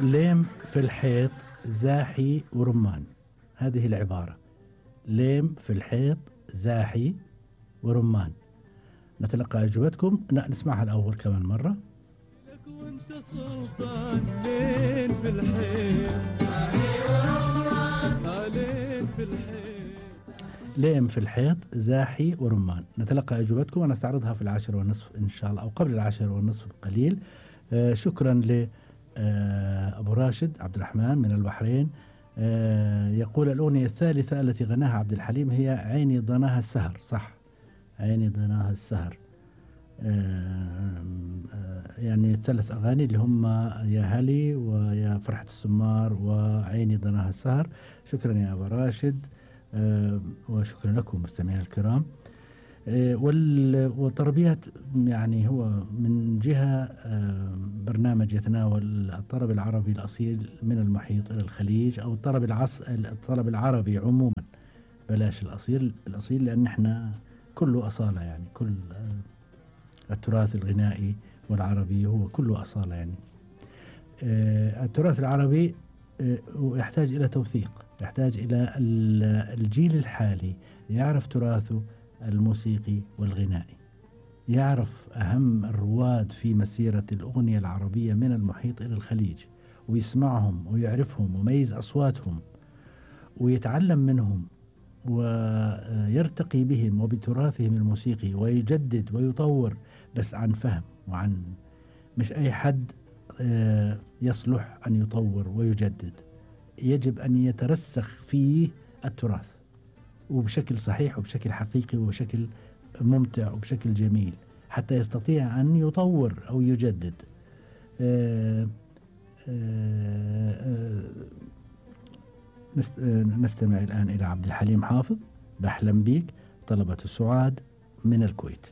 ليم في الحيط زاحي ورمان. هذه العبارة: ليم في الحيط زاحي ورمان. نتلقى أجوبتكم. نسمعها الأول كمان مرة. لك وانت سلطان لين في الحيط زاحي ورمان. لين في الحيط ليم في الحيط زاحي ورمان. نتلقى أجوبتكم ونستعرضها في 10:30 إن شاء الله، أو قبل 10:30 بقليل. شكرا ل أبو راشد عبد الرحمن من البحرين. يقول الأغنية الثالثة التي غناها عبد الحليم هي عيني ضناها السهر. صح، عيني ضناها السهر. يعني الثلاث أغاني اللي هم يا هلي ويا فرحة السمار وعيني ضناها السهر. شكرا يا أبو راشد، وشكرا لكم مستمعين الكرام. والطربيات يعني هو من جهة برنامج يتناول الطرب العربي الأصيل من المحيط إلى الخليج، أو الطرب العربي عموما، بلاش الأصيل لأن احنا كله أصالة، يعني كل التراث الغنائي والعربي هو كله أصالة. يعني التراث العربي يحتاج إلى توثيق، يحتاج إلى الجيل الحالي يعرف تراثه الموسيقي والغنائي، يعرف أهم الرواد في مسيرة الأغنية العربية من المحيط إلى الخليج، ويسمعهم ويعرفهم ويميز أصواتهم ويتعلم منهم ويرتقي بهم وبتراثهم الموسيقي ويجدد ويطور، بس عن فهم وعن مش أي حد يصلح أن يطور ويجدد. يجب أن يترسخ فيه التراث وبشكل صحيح وبشكل حقيقي وبشكل ممتع وبشكل جميل حتى يستطيع أن يطور أو يجدد. نستمع الآن إلى عبد الحليم حافظ، بحلم بيك، طلبة السعاد من الكويت.